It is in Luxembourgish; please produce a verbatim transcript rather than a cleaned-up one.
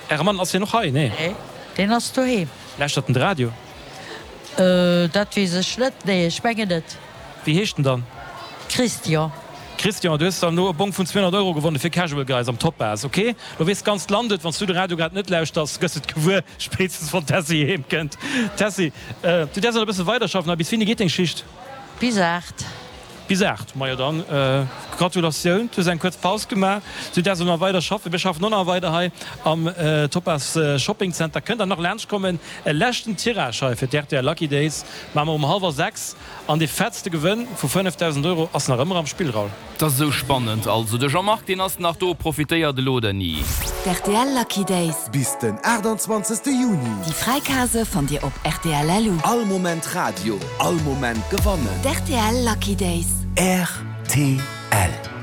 Äre Mann, ass hien och hei? Nee. Nee, deen ass doheem. Lauschtert en de Radio? Dat weess ech net, nee, ech mengen net. Wéi heescht en dann? Christian. Christian, du hues dann elo e Bong vun zweehonnert Euro gewonnen fir Casual Guys am Topaz, ok? Lo weess d'ganzt Land et, wann s du de Radio grad net lauschters, gëss et gewuer, spéitstens wann d'Tessy heem kënnt. Tessy, du däerfs nach e bësse weiderschaffen, a bis wéini geet deng Schicht? Bis aacht. Bis aacht, majo dann Gratulatioun, du hues eng kuerz Paus gemaach, du däerfs elo nach weider schaffen. Mir schaffen och nach weider hei am Topaz Shopping Center. Kënnt der nach laanscht kommen, e leschten Tirage hei fir d'R T L Lucky Days maache mer um hallwer sechs an dee fettste Gewënn vu fënnefdausend Euro ass nach ëmmer am Spill, Raoul. 't ass esou spannend. Also de Jean-Marc deen ass nach do, profitéiert elo oder ni? D'R T L Lucky Days. Bis den aachtanzwanzegste Juni. Déi fräi Case fannt Dir op rtl punkt lu. All Moment Radio, all Moment gewannen. D'R T L Lucky Days. R T L.